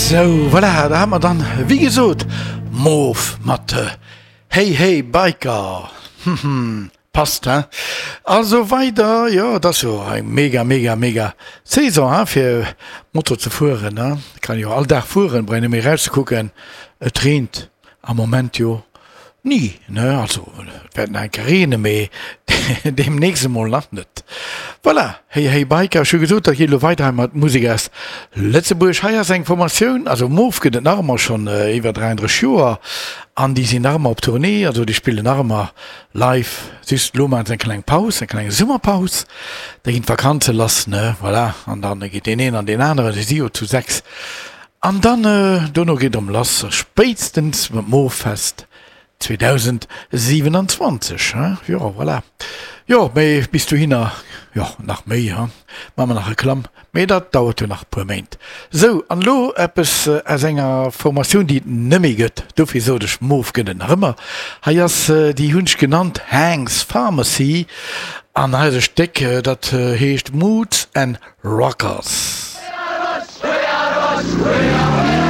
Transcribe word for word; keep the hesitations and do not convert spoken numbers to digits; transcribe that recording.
Sou, voilà, da hat mer dann, wéi gesot, Moof mat Hey Hey Biker. Passt, hein? Also weider, jo, et ass jo eng mega, mega, mega Saison, hein, fir Moto ze fueren, hein. Kann jo all Dag fueren, brauch een net méi erauszekucken. Et reent am Moment jo ni, ne, also et wäert nach eng Kéier reene, mee deemnächst emol nach net. Voilà, Hey Hey Biker, ech hu gesot, dat geet elo weider hei mat Musek aus Lëtzebuerg. Hei ass eng Formatioun, also Moof gëtt et nach ëmmer, schonn iwwer dräianddrësseg Joer, an déi sinn nach ëmmer op Tournée, also déi spillen nach ëmmer live, just elo maache se eng kleng Paus, eng kleng Summerpaus, da ginn d'Vakanze lass, ne, voilà, an da geet deen een an deen aneren, si si jo zu sechs, an dann dono geet erëm lass, spéitstens mam Mooffest zweedausendsiwenanzwanzeg, hein, jo, voilà. Jo, mee bis dohinner, jo, nach méi, hein, maache mer nach Reklamm, mee dat dauert jo nach e puer Méint. Sou, an elo eppes aus enger Formatioun, déi et net méi gëtt, dofir sot ech, Moof gëtt et nach ëmmer. Hei ass, déi hunn ech genannt Hank's Pharmacy, an hei ass e Stéck, dat heescht Moods and Rockers. We are us, we are us, we are.